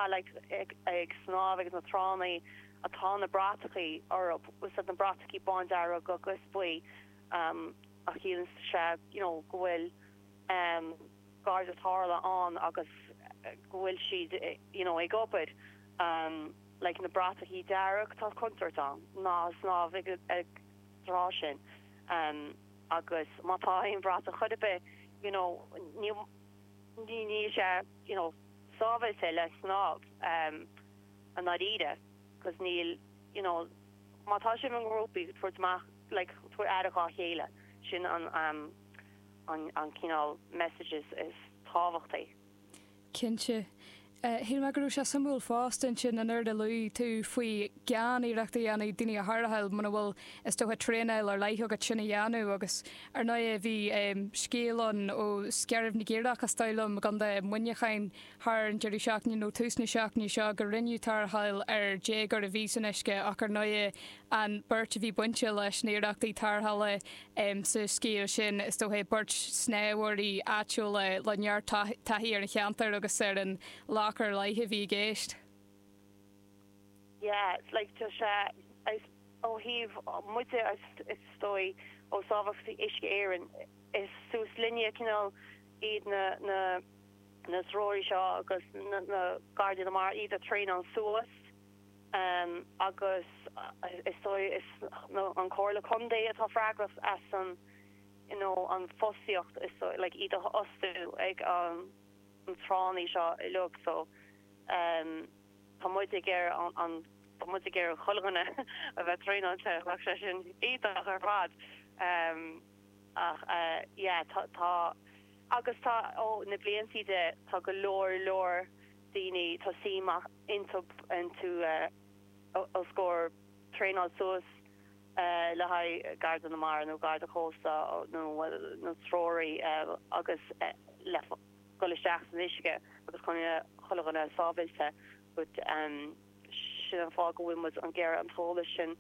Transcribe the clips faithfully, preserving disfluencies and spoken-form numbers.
maith like ag, ag snámh ag na tránna atá na bratachaí orthu na bratachaí bándearg agus buí um, a chiallaíonn sé you know, go bhfuil um, garda tarrthála ann agus go bhfuil siad you know, ag obair um, like na bratachaí dearg tá contúirt ann ná snámh ag, ag trá sin um, agus má tá aon bhratach chor ar bith you know, ní ní ní sé you know, sábháilte le snámh um, an náíre cos níl you know, má tá sibh i ngrúpaí tabhair amach like, tabhair aire dá chéile sin an um, an, an cineál messages is tábhachtaí. Cinnte. Shíl mé go raibh sé suimiúil fosta sin an rud a luaigh tú faoi gan iarracht a dhéanamh daoine a tharrtháil muna bhfuil is dócha traenáil ar leith agat sin a dhéanamh agus ar ndóigh bhí scéal ann ó Scairbh na gCaorach is dóigh liom gContae Mhuineacháin thar an deireadh seachtaine nó tús na seachtaine seo gur rinneadh tarrtháil ar déagóir a bhí san uisce ach ar ndóigh an bheirt a bhí bainte leis na hiarrachtaí tarrthála sa scéal sin is dócha beirt snámhóirí áitiúla le neart taithí ar an cheantar agus ar an loch ar leith a bhí i gceist. Yeah, it's like tá sé ó thaobh muide is dóigh ó Sábháilteacht Uisce Éireann is suas linne cineál iad na na na treoraí seo agus na, na gardaí na mara iad a traenáil suas um, agus is dóigh is no, an Comhairle Contae atá freagrach as an you know, an fostaíocht is so, like, iad a fhostú ag an an tránna seo uilig so um, tá muid ag ar an, an tá muid ag ar chuile dhuine a bheith traenáilte ach sé sin iontach ar fad um, ach uh, yeah, tá, tá agus tá ó na blianta de tá go leor leor daoine tá suim iontu iontu uh, os comhair traenáil suas uh, le haghaidh garda na mara nó garda cósta nó nó treoraí uh, agus uh, le dul isteach san uisce agus chun chuile dhuine sábháilte but um, sin an fáth go bhfuil muid ag iarraidh an t-eolas sin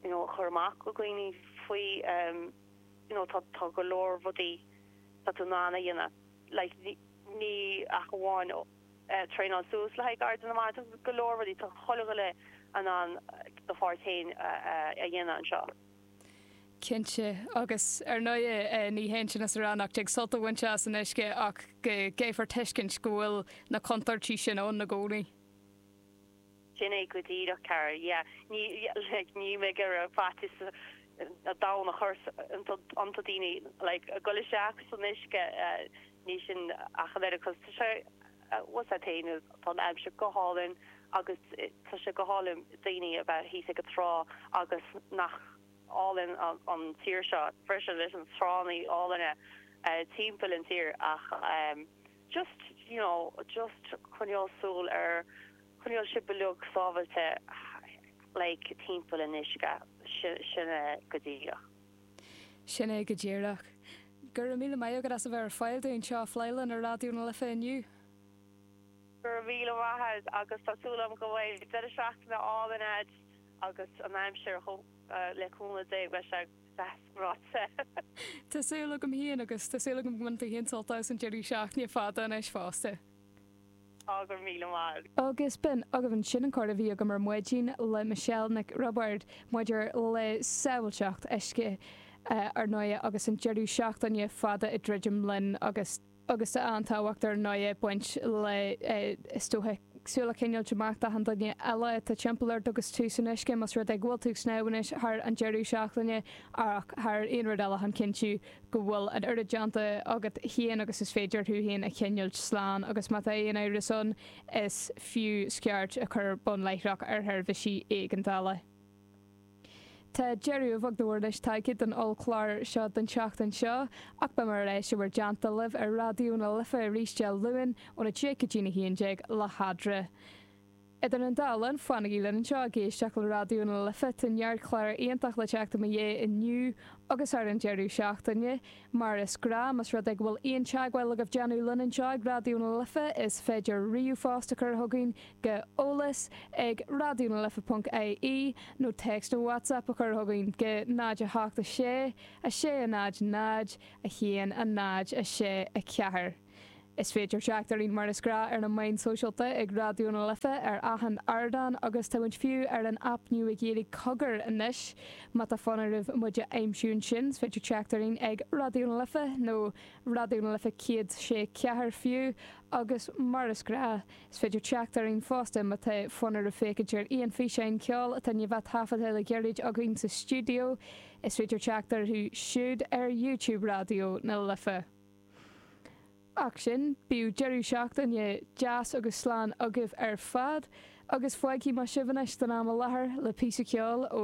you know, chur amach go dhaoine faoi um, you know, tá tá go leor rudaí tá tú in ann a dhéanamh like, ní, ní ach amháin uh, traenáil suas le haghaidh garda na mara go leor rudaí tá chuile dhuine in ann do pháirt féin uh, a dhéanamh anseo. Cinnte agus ar ndóigh ní hé sin is ránach ag sult a bhaint as an uisce ach go gcaithfear tuiscint go bhfuil na contúirtí sin ann i gcónaí. Sin é go díreach car yeah. ní like, ní mé gur faitíos a dá a chur ar dhaoine like, dul isteach san uisce uh, ní sin ach an cos sé was a tain tá aimsir go hálainn agus tá sé go hálainn daoine a bheith thíos ag an trá agus nach álainn an, an tír seo freisin leis an tránna álainne uh, timpeall an tír ach um, just you know just coinneáil súil ar coinneáil sibh uilig sábháilte like timpeall an uisce sin é go díreach. Sin é go díreach. Gur míle maith agat as a bheith ar fáil dúinn seo flélan ar Raidió na Life inniu. Gur míle maith agus tá súil agam go bhfuil deireadh seachtaine álainn agat agus an aimsir le cúnamh Dé beidh sé deas. Tá súil agam féin agus tá súil agam go mbainfidh tú féin sult as an deireadh seachtaine fada anois fosta. Á míle maith. Agus b'in agaibh sin an comhrá a bhí agam ar maidin le Michelle Nic Roibeaird maidir le sábháilteacht uisce ar ndóigh agus an deireadh seachtaine fada ag druidim linn agus agus an-tábhacht ar ndóigh baint le is dócha súil a choinneáil amach don duine eile atá timpeall ort agus tú san uisce más rud é go bhfuil tú ag snámh anois thar an deireadh seachtaine ach thar aon rud eile chun cinntiú go bhfuil an oiread déanta agat féin agus is féidir thú féin a choinneáil slán agus má tá aon amhras ann is fiú scairt a chur bun láithreach ar sheirbhísí éigeandála. Tá deireadh bhag dúir leis tagtha don ollchlár seo den tseachtain seo ach beidh mé ar ais i bhur dteannta libh ar Raidió na Life arís Dé Luain óna deich go dtí a haon déag le hAdra. Idir an dá linn fanaigí linn anseo ag éisteacht le Raidió na Life tá neart clár iontach le teacht i mo dhiaidh inniu agus ar an deireadh seachtaine, mar is gnách más rud é go bhfuil aon teagmháil agaibh déanamh linn anseo ag Raidió na Life is féidir ríomhphost a chur chugainn go eolas ag radionalife.ie nó text nó WhatsApp a chur chugainn go náid a hocht a sé a sé a náid náid a haon a náid a sé a ceathair. Is féidir teacht orainn mar is gnách ar na meáin sóisialta ag Raidió na Life ar achan ardán agus tá muid fiú ar an aip nua Ghaeilge Cogar anois má tá fonn oraibh muid a aimsiú ansin, is féidir teacht orainn ag Raidió na Life nó Raidió na Life céad sé ceathair fiú agus mar is gnách is féidir teacht orainn fosta má tá fonn oraibh féachaint ar aon físeáin ceoil atá i ndiaidh bheith taifeadta le gairid againn sa stiúideo, is féidir teacht orthu siúd ar YouTube Raidió na Life. Ach sin bíodh deireadh seachtaine deas agus slán agaibh ar fad, agus fágfaidh mé sibh anois don am i láthair le píosa ceoil ó